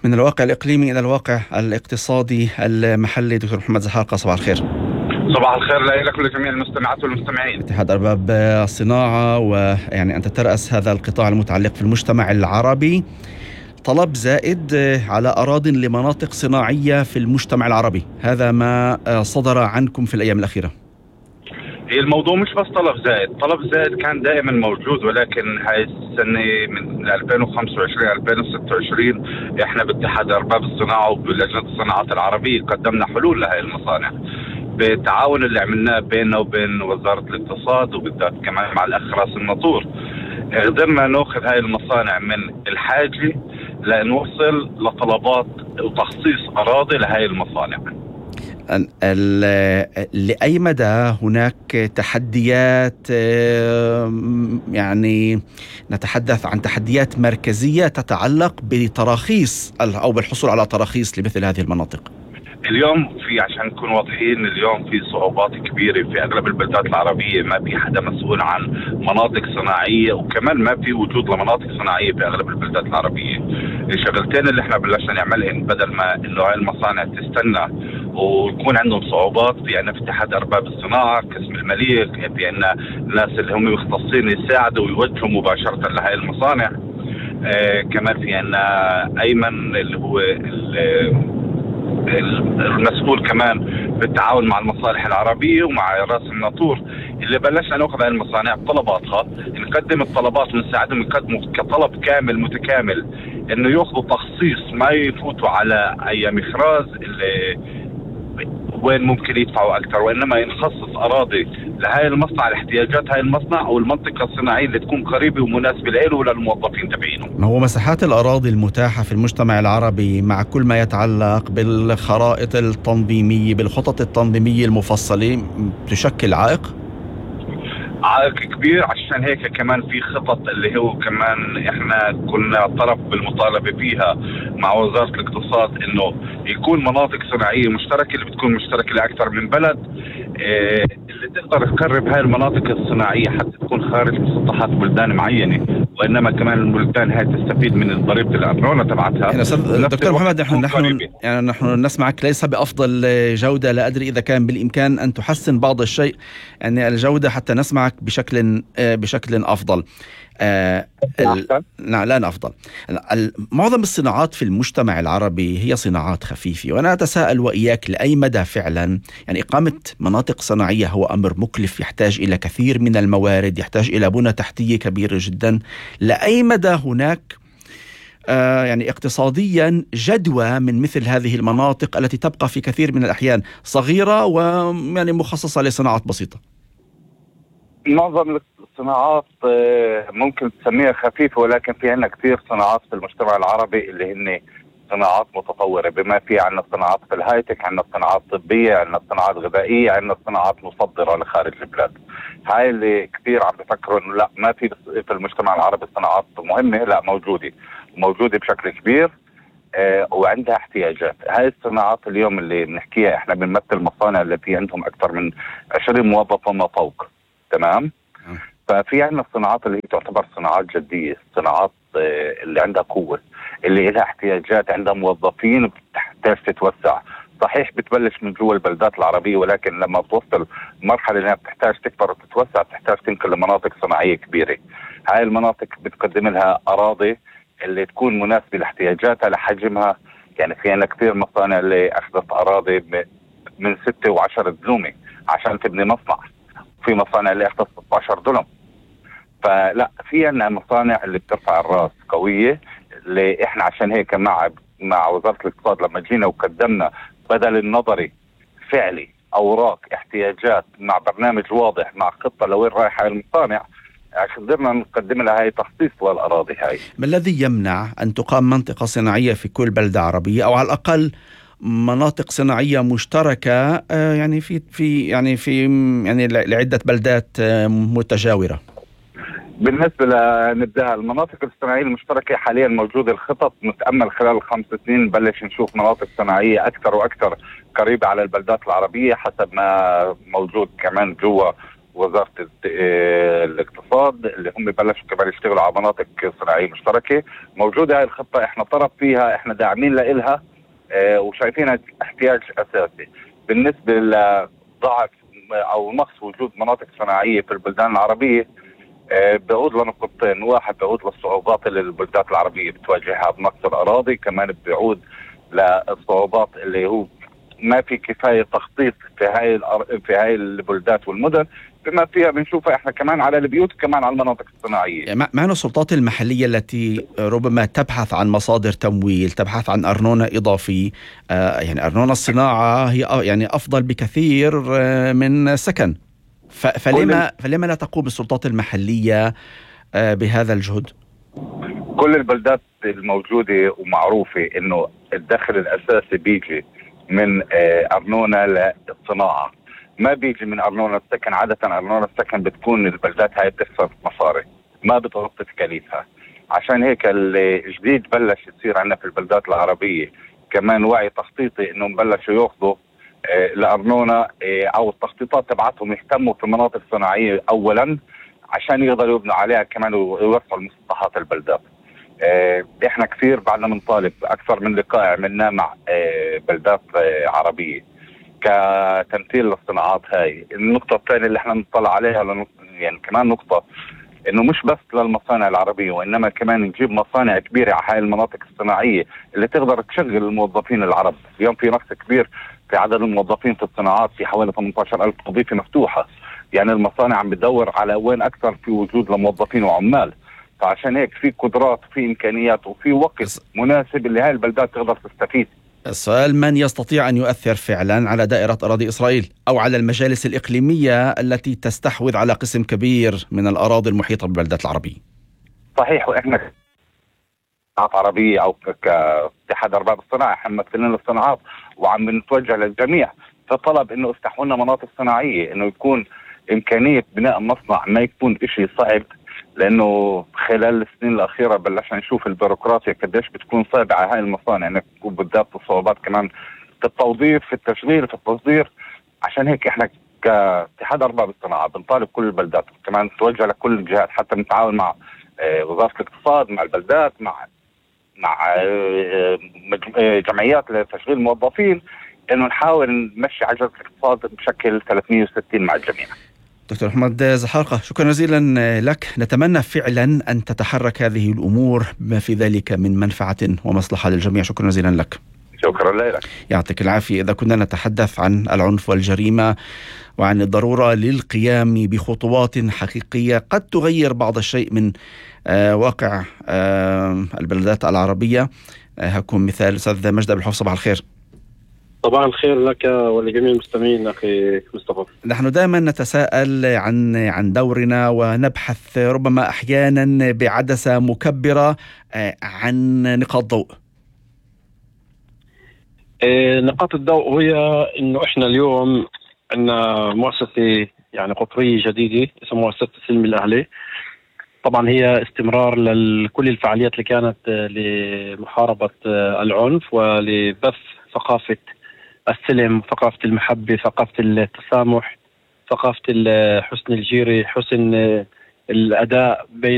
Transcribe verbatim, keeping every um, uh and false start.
من الواقع الإقليمي إلى الواقع الاقتصادي المحلي. دكتور محمد زحاقة، صباح الخير. صباح الخير لك ولجميع المستمعات والمستمعين. اتحاد أرباب الصناعة، ويعني أنت ترأس هذا القطاع المتعلق في المجتمع العربي، طلب زائد على أراضٍ لمناطق صناعية في المجتمع العربي، هذا ما صدر عنكم في الأيام الأخيرة. هي الموضوع مش بس طلب زائد، طلب زائد كان دائما موجود، ولكن هاي السنة من ألفين وخمسة وعشرين ألفين وستة وعشرين احنا باتحاد أرباب الصناعة وبلجنة الصناعات العربية قدمنا حلول لهي المصانع بالتعاون اللي عملناه بيننا وبين وزارة الاقتصاد، وبالذات كمان مع الأخ راس الناطور. قدرنا ناخذ هاي المصانع من الحاجة لنوصل لطلبات وتخصيص أراضي لهاي المصانع. لأي مدى هناك تحديات، يعني نتحدث عن تحديات مركزية تتعلق بتراخيص أو بالحصول على تراخيص لمثل هذه المناطق؟ اليوم في، عشان نكون واضحين، اليوم في صعوبات كبيرة في أغلب البلدات العربية، ما في حدا مسؤول عن مناطق صناعية، وكمان ما في وجود لمناطق صناعية في أغلب البلدات العربية. الشغلتين اللي احنا بلشنا نعملهم بدل ما إنه هاي المصانع تستنى ويكون عندهم صعوبات، في عنا في اتحاد أرباب الصناعة قسم المليك، في عنا ناس اللي هم مختصين يساعدوا ويوجهوا مباشرة لهاي المصانع. آه كمان في عنا أيمن اللي هو المسؤول كمان بالتعاون مع المصالح العربية ومع راس الناطور، اللي بلشنا ناخذ هاي المصانع بطلباتها، نقدم الطلبات ونساعدهم يقدموا كطلب كامل متكامل، انه ياخذوا تخصيص ما يفوتوا على اي مخراج اللي وين ممكن يدفعوا اكثر، وانما ينخصص اراضي لهاي المصنع لاحتياجات هاي المصنع او المنطقه الصناعيه اللي تكون قريبه ومناسبه له وللموظفين تبعينه. ما هو مساحات الاراضي المتاحه في المجتمع العربي مع كل ما يتعلق بالخرائط التنظيميه بالخطط التنظيميه المفصله تشكل عائق؟ عائق كبير، عشان هيك كمان في خطط اللي هو كمان احنا كنا طرف بالمطالبه فيها مع وزاره الاقتصاد، انه يكون مناطق صناعيه مشتركه اللي بتكون مشتركه لاكثر من بلد، اه اللي تقدر تقرب هاي المناطق الصناعيه حتى تكون خارج مسطحات بلدان معينه، وانما كمان البلدان هاي تستفيد من ضريبه الارنونه تبعتها. يعني دكتور محمد، نحن نحن يعني نحن نسمعك ليس بافضل جوده، لا ادري اذا كان بالامكان ان تحسن بعض الشيء يعني الجوده حتى نسمعك بشكل بشكل افضل. آه لا لا أفضل. معظم الصناعات في المجتمع العربي هي صناعات خفيفة، وأنا أتساءل وإياك لأي مدى فعلا يعني إقامة مناطق صناعية هو أمر مكلف، يحتاج إلى كثير من الموارد، يحتاج إلى بنى تحتية كبيرة جدا، لأي مدى هناك آه يعني اقتصاديا جدوى من مثل هذه المناطق التي تبقى في كثير من الأحيان صغيرة ويعني مخصصة لصناعات بسيطة؟ معظم الصناعات ممكن تسميها خفيفة، ولكن في عنا كثير صناعات في المجتمع العربي اللي هن صناعات متطورة، بما في عنا صناعات في الهايتك، عنا صناعات طبية، عنا صناعات غذائية، عنا صناعات مصدرة لخارج البلاد. هاي اللي كثير عم بفكروا انه لا ما في في المجتمع العربي صناعات مهمة، لا موجودة موجودة بشكل كبير آه وعندها احتياجات. هاي الصناعات اليوم اللي بنحكيها احنا بنمثل مصانع اللي في عندهم اكثر من عشرين موظف وما فوق، تمام؟ ففي عندنا الصناعات اللي هي تعتبر صناعات جدية، صناعات اللي عندها قوة، اللي لها احتياجات، عندها موظفين بتحتاج تتوسع. صحيح بتبلش من جوا البلدات العربية، ولكن لما بتوصل مرحلة انها بتحتاج تكبر وتتوسع بتحتاج تنقل لمناطق صناعية كبيرة. هاي المناطق بتقدم لها أراضي اللي تكون مناسبة لاحتياجاتها لحجمها. يعني في عندنا كثير مصانع اللي أخذت أراضي من ستة وعشرة دلومة عشان تبني مصنع، في مصانع اللي أخذت ستة عشر دلم. فلا في عنا مصانع اللي بترفع الراس قوية، اللي احنا عشان هيك مع مع وزارة الاقتصاد لما جينا وقدمنا بدل النظري فعلي اوراق احتياجات مع برنامج واضح مع خطة لوين رايحة المصانع، عشان قدرنا نقدم لها هاي تخصيص للأراضي. هاي ما الذي يمنع أن تقام منطقة صناعية في كل بلدة عربية، أو على الأقل مناطق صناعية مشتركة يعني في في يعني في يعني لعدة بلدات متجاورة؟ بالنسبة لنبدأ المناطق الصناعية المشتركة حاليا موجودة الخطط، نتأمل خلال الخمس سنين نبلش نشوف مناطق صناعية أكثر وأكثر قريبة على البلدات العربية حسب ما موجود كمان جوا وزارة الاقتصاد اللي هم بلشوا كمان يشتغلوا على مناطق صناعية مشتركة. موجودة هاي الخطة، احنا طرف فيها، احنا داعمين لإلها اه وشايفينها احتياج أساسي بالنسبة لضعف أو نقص وجود مناطق صناعية في البلدان العربية. اه بيعود لنقطتين، واحد بيعود للصعوبات اللي البلدان العربية بتواجهها بنقص الأراضي، كمان بيعود للصعوبات اللي هو ما في كفايه تخطيط في هاي في هاي البلدات والمدن، بما فيها بنشوفها احنا كمان على البيوت وكمان على المناطق الصناعيه. معنا السلطات المحليه التي ربما تبحث عن مصادر تمويل، تبحث عن ارنونه اضافي، آه يعني ارنونه الصناعه هي يعني افضل بكثير آه من سكن، فلما فلما لا تقوم السلطات المحليه آه بهذا الجهد؟ كل البلدات الموجوده ومعروفه انه الدخل الاساسي بيجي من أرنونة للصناعة، ما بيجي من أرنونة السكن. عادة أرنونة السكن بتكون البلدات هاي بتخسر مصاري، ما بتغطي تكاليفها. عشان هيك الجديد بلش يصير عندنا في البلدات العربية كمان وعي تخطيطي، إنهم بلشوا يأخذوا الأرنونة أو التخطيطات تبعتهم يهتموا في المناطق الصناعية أولا عشان يقدروا يبنوا عليها كمان ويوسعوا المسطحات البلدات. اه احنا كثير بعدنا بنطالب اكثر من لقاء عملناه مع اه بلدات اه عربيه كتمثيل للصناعات هاي. النقطه الثانيه اللي احنا بنطلع عليها يعني كمان نقطه انه مش بس للمصانع العربيه، وانما كمان نجيب مصانع كبيره على هاي المناطق الصناعيه اللي تقدر تشغل الموظفين العرب. اليوم في نقص كبير في عدد الموظفين في الصناعات، في حوالي ثمانية عشر ألف وظيفه مفتوحه، يعني المصانع عم بتدور على وين اكثر في وجود لموظفين وعمال. فعشان هيك في قدرات وفي إمكانيات وفي وقت مناسب اللي هاي البلدات تقدر تستفيد. السؤال: من يستطيع أن يؤثر فعلا على دائرة أراضي إسرائيل أو على المجالس الإقليمية التي تستحوذ على قسم كبير من الأراضي المحيطة بالبلدات العربية؟ صحيح، وإحنا عربية أو كاتحاد أرباب الصناعة احنا ممثلين للصناعات وعم نتوجه للجميع في طلب إنه افتحوا لنا مناطق صناعية، إنه يكون إمكانية بناء مصنع ما يكون إشي صعب، لانه خلال السنين الاخيره بلشنا نشوف البيروقراطيا قديش بتكون صعبه على هاي المصانع، انك تكون بالذات الصعوبات كمان في التوظيف، في التشغيل، في التصدير. عشان هيك احنا كاتحاد ارباب الصناعه بنطالب كل البلدات، كمان نتوجه لكل الجهات حتى نتعاون مع وزاره الاقتصاد، مع البلدات، مع مع جمعيات لتشغيل الموظفين، انه نحاول نمشي عجله الاقتصاد بشكل ثلاثمئة وستين مع الجميع. دكتور محمد زحارقة، شكرا جزيلا لك. نتمنى فعلا أن تتحرك هذه الأمور بما في ذلك من منفعة ومصلحة للجميع. شكرا جزيلا لك. شكرا لك. يعطيك العافية. إذا كنا نتحدث عن العنف والجريمة وعن الضرورة للقيام بخطوات حقيقية قد تغير بعض الشيء من آه واقع آه البلدات العربية، آه هكون مثال. أستاذ مجد أبو الحوف، صباح الخير. صباح الخير لك ولجميع المستمعين أخي مصطفى. نحن دائما نتساءل عن عن دورنا ونبحث ربما أحيانا بعدسة مكبرة عن نقاط ضوء. نقاط الضوء هي إنه إحنا اليوم عندنا مؤسسة يعني قطرية جديدة اسمها مؤسسة السلم الأهلي. طبعا هي استمرار لكل الفعاليات اللي كانت لمحاربة العنف ولبث ثقافة السلم، ثقافة المحبة، ثقافة التسامح، ثقافة حسن الجيرة، حسن الأداء بين